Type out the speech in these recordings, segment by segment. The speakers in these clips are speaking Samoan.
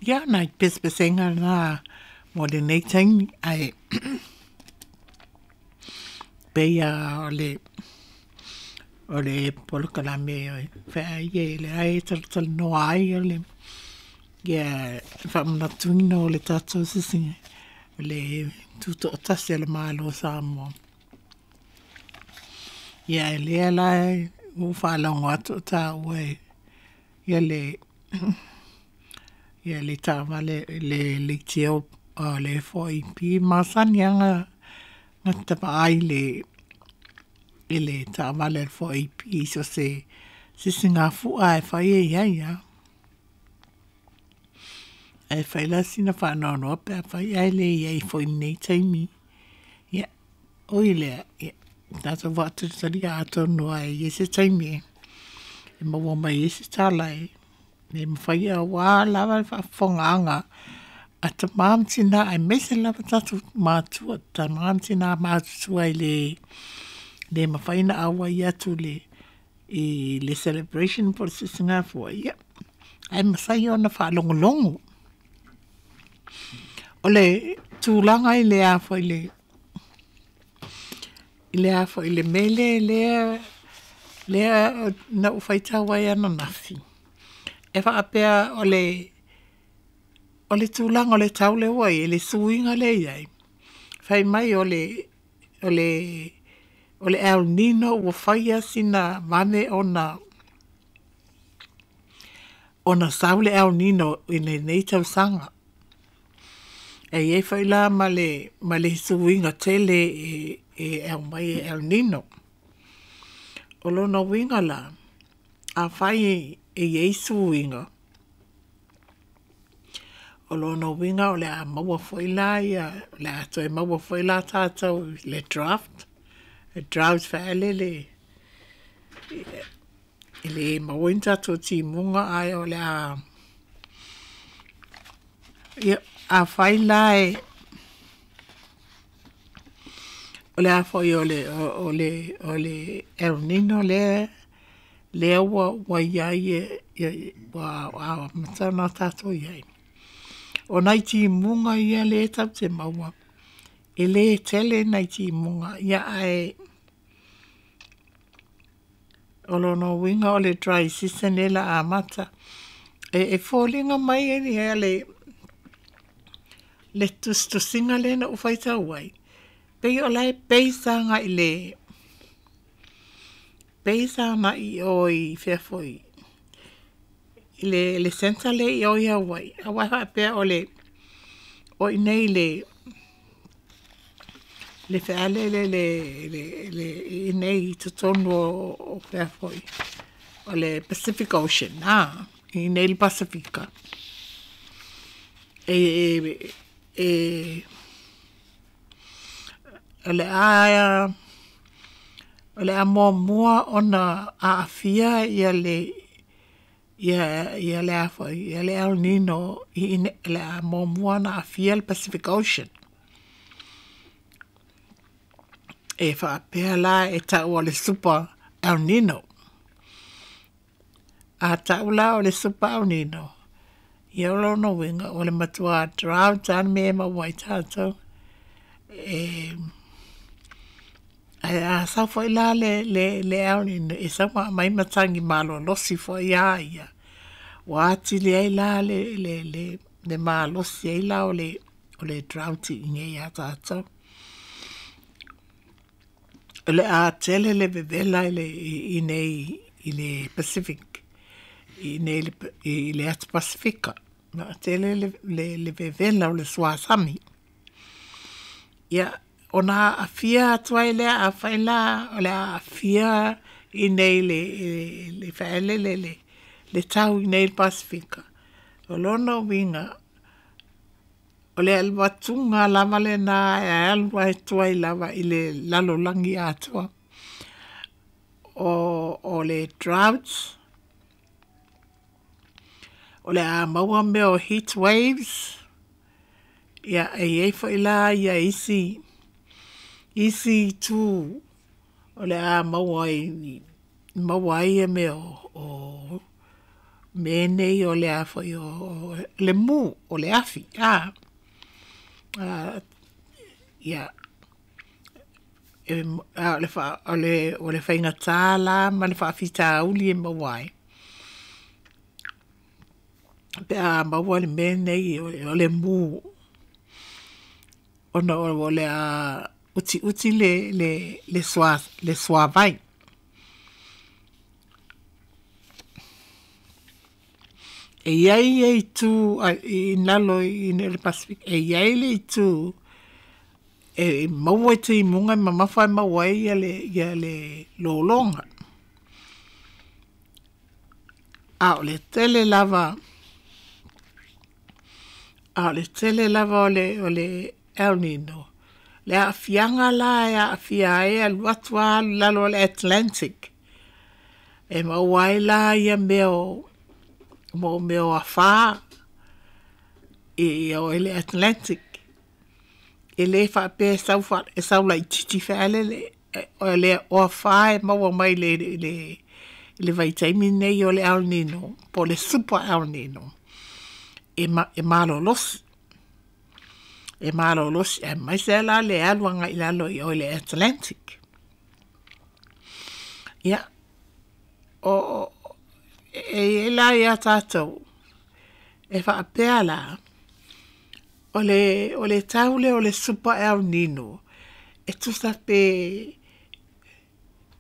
Ia, nai pesepesega na mo lenei taimi, ae pei lava o le polokalame e feai lea e talatalanoa ai le faamanatuina o le tatou le tutoatasi o le Malo o Samoa. Ia ae lea la ua ou faalogo atu o taua ia le taavale le leitio a le 4AP e masani lava ona vaai i le taavale a le 4AP i so o se sisigafua lava e fai e i ai lava. Ae fai la sina faanoanoa pe afai ae le i ai foi i lenei taimi. Ia, ui i lea, ia tatou faatalitalia atonu lava e i ai se taimi e maua mai ai se tala e mafai aua lava le faafofogaaga a tama ma tina aemaise lava tatou matua, tama ma tina matutua e le mafai ona auai atu i le celebration po o le sisigafua, ia ae mafai ona faalogologo. O le tulaga i le a foi i le mele lea na ou faitau ai ananafi, e faapea o le tulaga o le tau lea ua i ai, le suiga lea e i ai, fai mai o le El Nino ua fai sina vave ona sau le El Nino i lenei tausaga. E i ai foi la ma le suiga tele e aumai e El Nino. O lona uiga la, afai e i ai suiga, o lona uiga o le a maua foi la o le a toe maua foi la tatou i le draft, le drought foi lele e le maua ai ni tatou timuga ae o le a... Ia, afai la o le a foi o le El Nino lea ua i ai ua amata ona tatou i ai, o nai timuga ia lea tatou te maua, e le tele nai timuga, ae o lona uiga o le dry season lea o le a amata. E foliga mai le tusitusiga lea na ou faitau ai, pei o la e base agai i le base agai i o i fea foi i le centre lea i o i Hawaii, aua e faapea o i inei i le feale lea i inei i totonu o fea foi o le Pacific Ocean i inei i le Pasefika, o le a muamua ona aafia le El Nino o le a muamua ona aafia le Pacific Ocean. E faapea la e tau o le Super El Nino. A tau la o le Super El Nino, ia o lona uiga o le matua drought lava le mea e maua ai tatou. Ae a sau foi la le El Nino, e sau ma aumai matagi malolosi foi lava ia, ua atili ai la le malosi ai la o le drought i inei ia tatou. O le a tele le vevela i inei i le Pacific, i inei i le atu Pasefika. O le a tele le vevela o le suasami. Ia, ona aafia atu ai lea, afai la o le a aafia i inei i le fale lea le tau i inei i le Pasefika, o lona uiga, o le alu atu lava lena e alu atu ai lava i le lalolagi atoa. O le drought, o le a maua mea o heat waves, ia e i ai foi la isi itu o le a maua ai mea o mea nei o le a foi o le mu, o le afi, ia, a o le faigata la ma le faafitauli e maua ai, pe a maua le mea lenei o le mu, ona o le a utiuti le suavai. E i ai ia itu i lalo i le Pasefika, e i ai le itu e maua i timuga e mamafa e maua ai ia le lologa. A o le tele lava, a o le tele lava o le El Nino, le aafiaga la e aafia ai e alu atu lava alu i lalo o le Atlantic, e maua ai la ia mea o mea o afa i o i le Atlantic. E le faapea e sau laitiiti foi lele, o afa e maua mai i le vaitaimi lenei o le El Nino po o le Super El Nino, e malolosi. E malolosi aemaise lava la le alu agai i lalo i o i le Atlantic. Ia, e i ai la ia tatou, e faapea la, o le tau lea o le Super El Nino, e tusa pe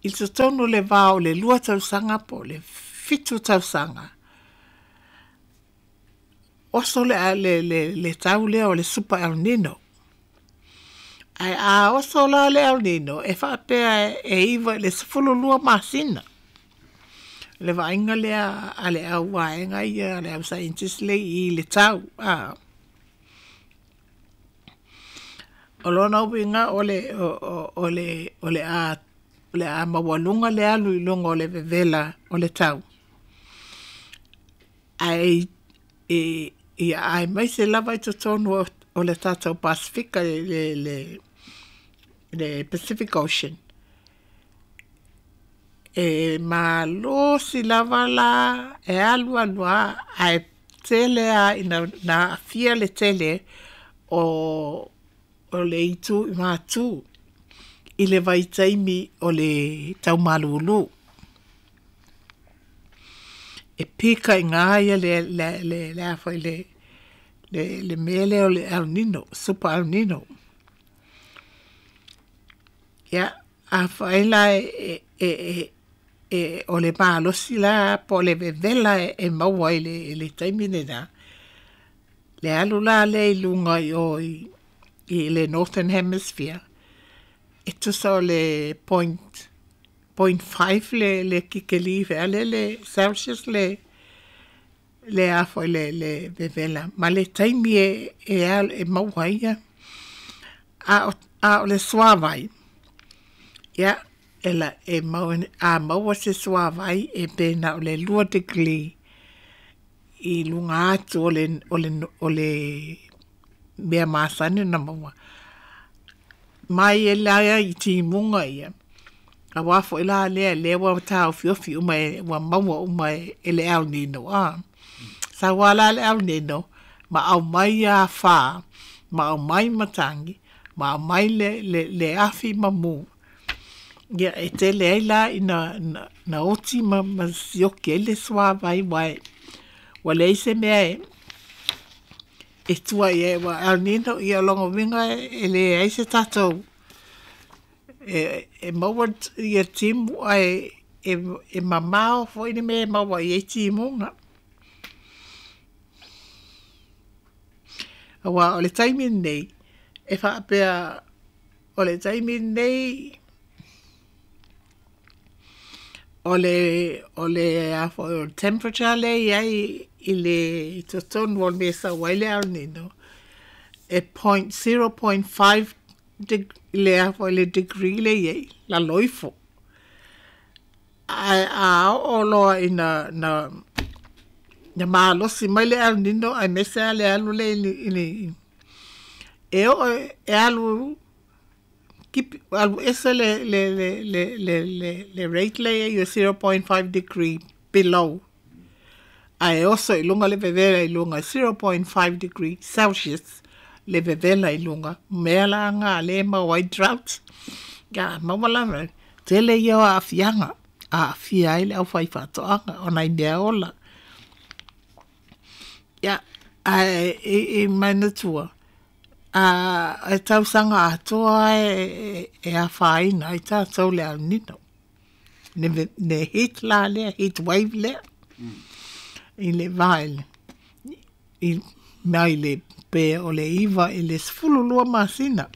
i totonu o le va o le 2 tausaga po o le 7 tausaga, oso le tau lea o le Super El Nino. Ae a oso la le El Nino, e faapea e 9 i le 12 masina. Le vaaiga lea a le au vaega ia, a le au scientist lea i i le tau. O lona uiga o le a maualuga le alu i luga o le vevela o le tau. Ae ia aemaise lava i totonu o le tatou Pasefika le Pacific Ocean, e malosi lava la e alu alu lava ae tele lava ina aafia le tele o le itu i matu i le vaitaimi o le tau malulu. E pikaina ia le mea lea o le El Nino, Super El Nino. Ia, afai la o le malosi la po o le vevela e maua i le taimi lena, le alu la lea i luga i o i le Northern Hemisphere, e tusa o le 0.5 le kikeli foi lele Celsius le le vevela ma le taimi e maua ai ia. A o le suavai, ia, e a maua se suavai e pe na o le 2 degree i luga atu o le mea masani ona maua. Mai e la i timuga ia, auā foi la lea lea ua taofiofi uma ua maua uma e le El Nino. Sau lava la le El Nino, ma aumai afa, ma aumai matagi, ma aumai le afi ma mu. Ia e tele ai la ina na oti ma sioki ai le suavai aua ua leai se mea e tua i ai aua El Nino, ia o lona uiga e leai se tatou e maua ia timu ae e mamao foi le mea e maua i ai timuga. Aua o le taimi lenei, e faapea o le taimi lenei o le a foi o le temperature lea e i ai i le i totonu o le mea e sau ai le El Nino, e 0.5 le a foi le degree lea e i ai, lalo ifo. Ae a oo loa ina na malosi mai le El Nino aemaise lava le alu lea i le e oo e alu alu ese le rate lea e i ai o 0.5 degree below. Ae oso i luga le vevela i luga 0.5 degree Celsius le vevela i luga mea la nga le maua ai drought. Ia maua la tele ia o aafiaga aafia ai le aufaifaatoaga ona i mea ola. Ia ae i manatua e tausaga atoa e afaina ai tatou le El Nino. Le heat la lea, heat wave lea. I le va i mai le pe o le 9 i le 12 masina.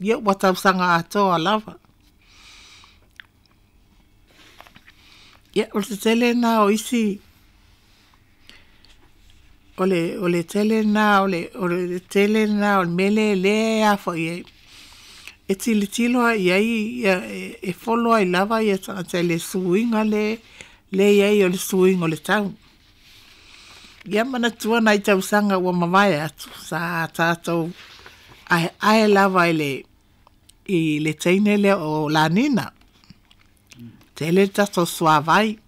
Ia ua tausaga atoa lava. Ia o le tele na o isi o le tele na o le tele na o le mele le a foi e tilotilo ai i ai e follow ai lava ia tagata i le suiga le i ai o le suiga o le tau. Ia manatua nai tausaga ua mavae atu sa tatou aeae lava i le teine lea o La Nina. Tele le tatou suavai.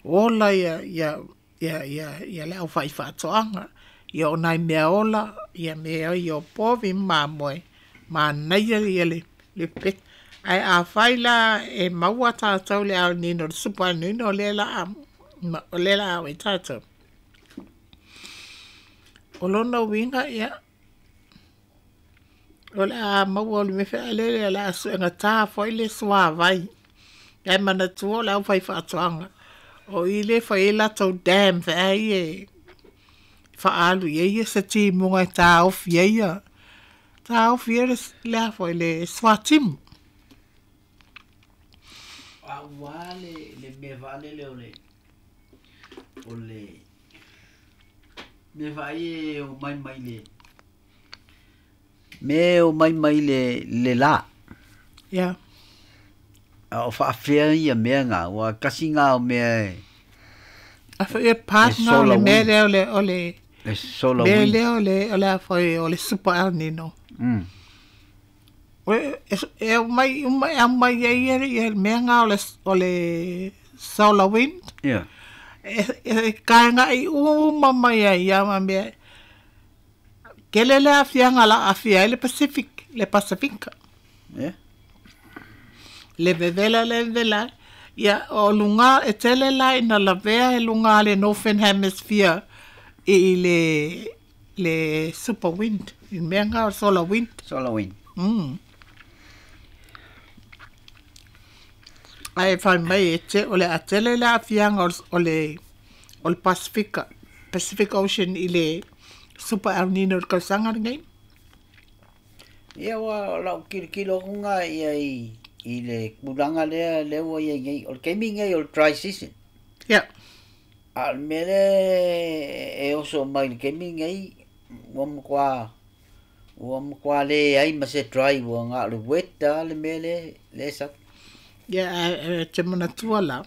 Ola ia le aufaifaatoaga. Ia o nai mea ola, ia mea ia o povi ma mamoe, manaia ia le pepeke. Ae afai la e maua tatou le El Nino, le Super El Nino lea la o i tatou. O lona uiga ia, o le a maua o le mea fealele o le a suegata foi le suavai. Ae manatua o le aufaifaatoaga. O i le fai ai latou dam feai e faalu i ai ia se timuga e taofi ai ia le a foi le suatimu. A ua le mea faalele o le mea faai e o mai mai le mea o mai mai le la. Yeah. A o faafea ia mea ngā, ua kasi ngā o mea e A foi e part ngā o le mea lea o le le solar mea wind. lea o le a foi o le Super El Nino. E mai mai ai ia mea ngā o le solar wind. Yeah. E kainga i uma mai ai ia ma mea. Kele le afianga la afia le Pacific, le Pasifika. Yeah. Le vevela le vevela. Ia o lunga e tele la ina lavea e lunga le Northern Hemisphere i le super wind, i mea ngā solar wind. Solar wind. Ai whai mai e te, o le atele le afianga o le Pasifika, Pacific Ocean i le Super El Nino le kausanga nei. Ia ua lau kilokilo kunga ia i le kulanga lea lea ia nei, o le keimi nei o le dry season. Yeah. A le mea le e oso mai le keimi nei, ua matua le ai ma se dry ua ngā le wet a le mea le sa. Ia, te manatua la.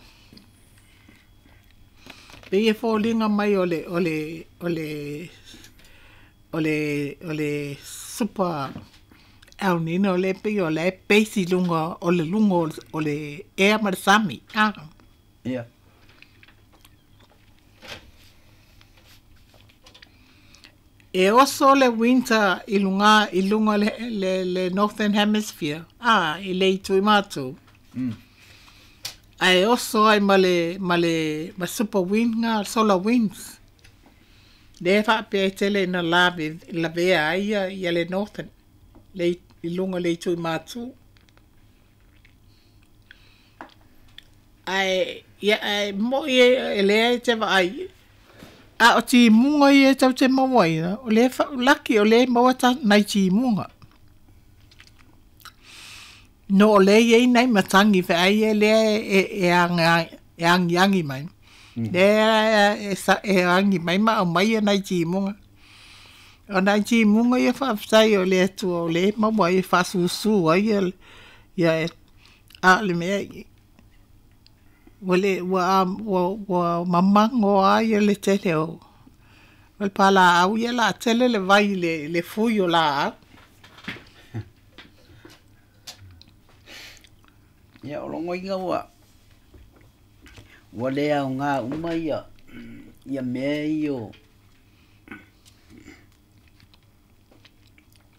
Pe e fōlinga mai o le Super El Nino le pe o le peisi lunga o le lunga o le ea ma le sami. Ah. Yeah. E oso le winter i lunga le Northern Hemisphere. Ah, i le itu i mātou. Ae oso ai ma le super wind ngā, solar winds. Le whaapea e tele ina lavea ai ia le Northern. Le i lunga le itu i mātou. Ae, ia, ae mo i e lea e te vaai. A o timunga ia e tau te maua ina, o le laki o le maua ta nai timunga. No o le iei nei matangi whaai e lea e angi angi mai. Lea e angi mai ma o mai e nai timunga. O nai timunga ia whaaftai o le atua o le maua e whaasusu ai ia e a le mea i. Ua mamango ai le tele o le pala au ia la tele le vai le fui o la au. Ia o longo inga ua lea o ngā uma ia ia mea ia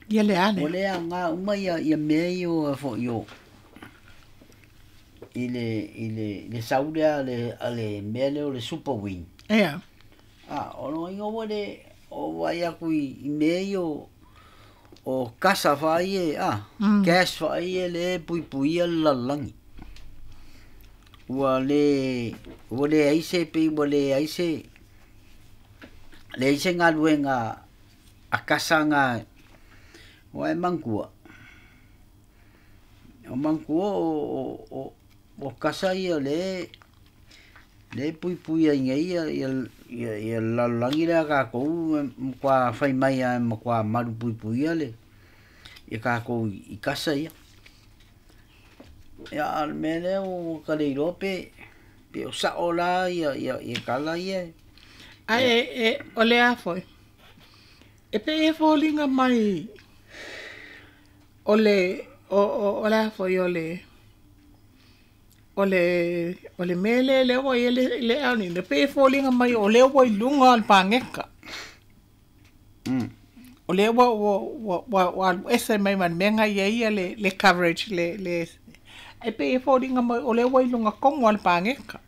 Ia le ale. Ua le aoga uma ia ia mea ia o foi o i le i le le sau lea a le a le mea lea o le super wing. Ia. A o lona uiga ua le o vaai atu i, i mea ia o o kasa faai e a gas faai e le puipuia le lalolagi. Ua le ua leai se pei ua leai se leai se galuega a kasa ga ua e manatua o manatua o kasa ia le le puipui ai nei ia ia ia ia le lalolagi lea a tatou e matua fai mai lava e matua malupuipuia le ia tatou i kasa ia. Ia a o le mea lea ua ta le iloa pe pe o sa'o la ia ia ia tala ia. Ae e o le a foi? E pei e foliga mai o le o o o le a foi o le o le o le mea lea lea ua i ai le le El Nino, e pei e foliga mai o lea ua i luga o le paneta. O lea ua ua ua ua ua alu ese mai ma le mea na i ai le le coverage le le e pei e foliga mai o lea ua i luga tonu lava o le paneta.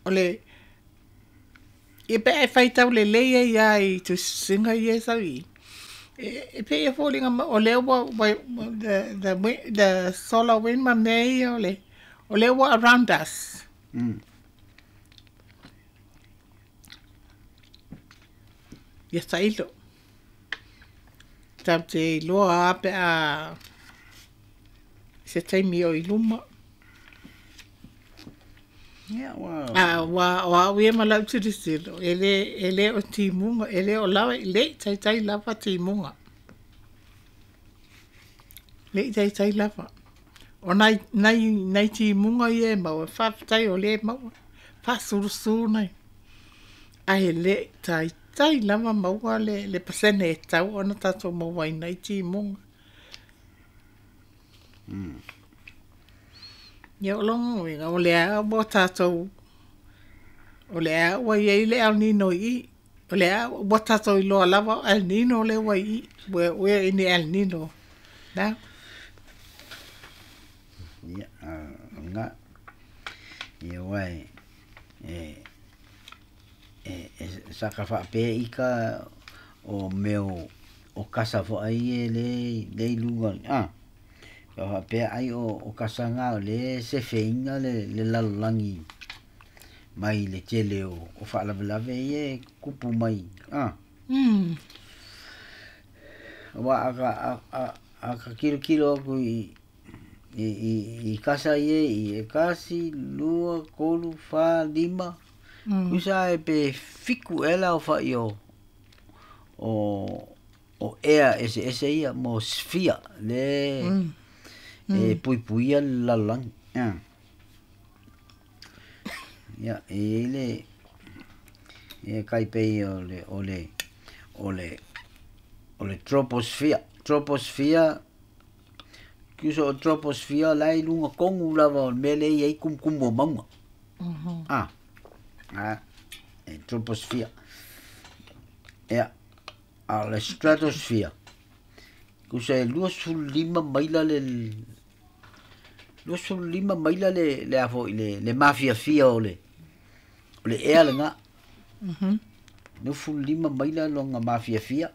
O le ia pe a e faitau lelei ai lava i tusitusiga ia e sau i i, e pei e foliga mai o lea ua the the solar wind ma mea ia o le o lea ua around us. Ia tailo. Tatou te iloa lava pe a se taimi o i luma. A ua o au ia ma lau tilotilo, e le, e le o timuga, e le o lava, le i taitai lava timuga. Le i taitai lava. O nai, nai, nai timuga ia e maua, faafetai o lea e maua, faasulusulu nai. Ae le i taitai lava maua le, le pasene e tatau ona tatou maua ai nai timuga. Ia o lona uiga, o lea ua tatou, o lea ua i ai le El Nino i i. O lea ua tatou iloa lava o El Nino lea ua i i. We're in the El Nino now. Ia, o lena. Ia aua e, e, e, e saka faapea ika o mea o, o kasa foi e le, le i luga, a. Ka faapea ai o kasa na o lea e sefeina le le lalolagi mai le tele o faalavelave ia e tutupu mai a. Aua a ka a ka tilotilo atu i i i kasa ia i e tasi, lua, tolu, fa, lima, tusa e pe 7 ea le aofai o o o ea eseese ia mo sphere le e puipuia le lalolagi. Ia, e i ai le e tai pei o le o le o le o le troposphere. Troposphere tusa o troposphere la e i luga tonu lava o le mea lea e i ai tumutumu o mauga. A, a, e troposphere. Ia, A o le stratosphere, tusa e 25 maila le 25 maila le le a foi le le mafiafia o le o le ea lena. 25 maila lona mafiafia.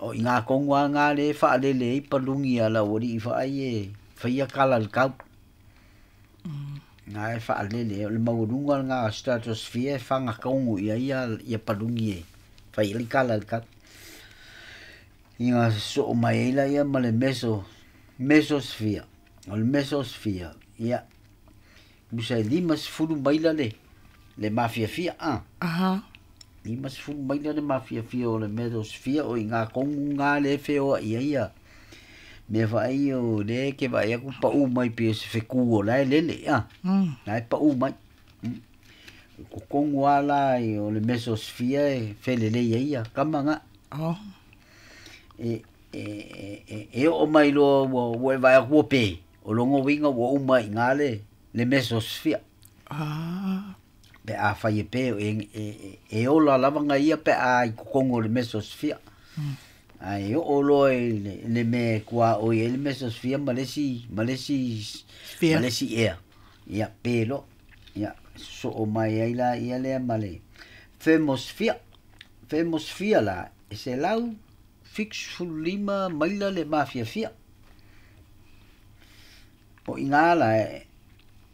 O i ngā tonu lava ngā le faalele ai paluni a le aualii faai e faia kala i le tau. Ngā e faalele, o le maualuga lena o stratosphere e faga tonu i ai ia paluni e fai ai kala i le tau. Ia sosoo mai ai laia ma le meso, mesosphere. O le mesosphere, ia, tusa e 50 maila le, le mafiafia, a. 50 maila le mafiafia o le mesosphere o i ngā tonu ngā le feoai ai ia mea faai o lea e te vaai atu pau mai pei o se fetu o la e lele, a. La e pau mai. O totonu lava la o le mesosphere e felelei ai ia kama na. E e e oo mai loa ua e vaai atu ua pe, o lona uiga ua uma i ina le mesosphere. Ah. Pe afai e pe e ola lava ga ia pe a i totonu o le mesosphere. Ae oo loa i le mea e tuaoi ai le mesosphere ma le isi ma le isi Sphere. ma le isi ea. Ia pe loa. Ia sosoo mai ai laia lea ma le thermosphere. Thermosphere la e 175 maila le mafiafia. O i ina la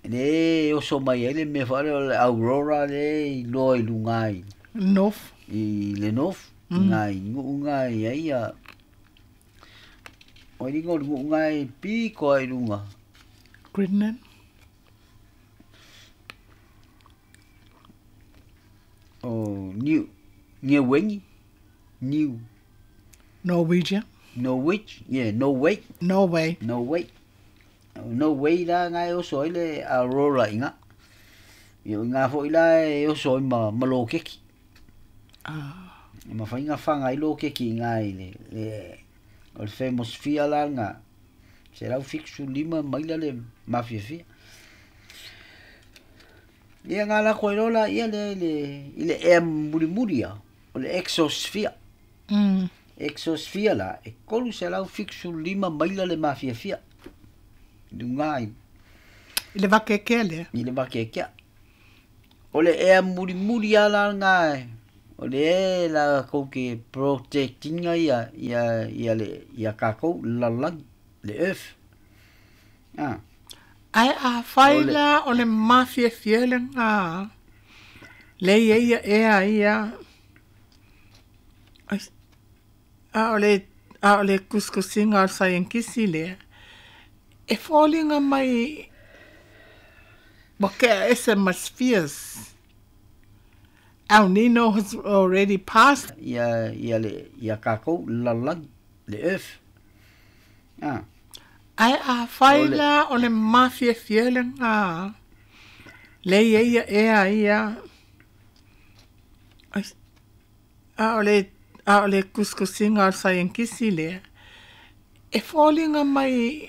le oso mai ai le mea foi lea o le aurora lea e iloa i luga i North. i le north i nuu na i ai ia o le iga o le nuu na e pito lava i luga. Greenland. O Niu Niuegi Niu Norwegia. Norwich yeah Norway. Norway. Norway. Norway la na e oso ai le aurora i ina. Ia o ina foi la e oso ai ma lokeki. Ah. E mafai ona faga ai lokeki i ina i le o le thermosphere la lena 175 maila le mafiafia. Ia na lako ai loa laia lea i le ea mulimuli ia o le exosphere. Exosphere la e 375 maila le mafiafia i luga i I le vakeakea lea. I le vakeakea. O le ea mulimuli lava la lena o le latou te protect ina ia le ia tatou le lalolagi, le earth. Ah. Ae afai O le la o le mafiafia lena lea e i ai ea ia a o le a o le tusitusiga a le saienitisi lea e foliga mai ua tea ese ma spheres. El Nino has already passed. Ia le ia tatou le lalolagi, le earth. Ah. Ae afai O le la o le mafiafia lena lea e i ai ea ia a o le a o le tusitusiga a le saienitisi lea e foliga mai.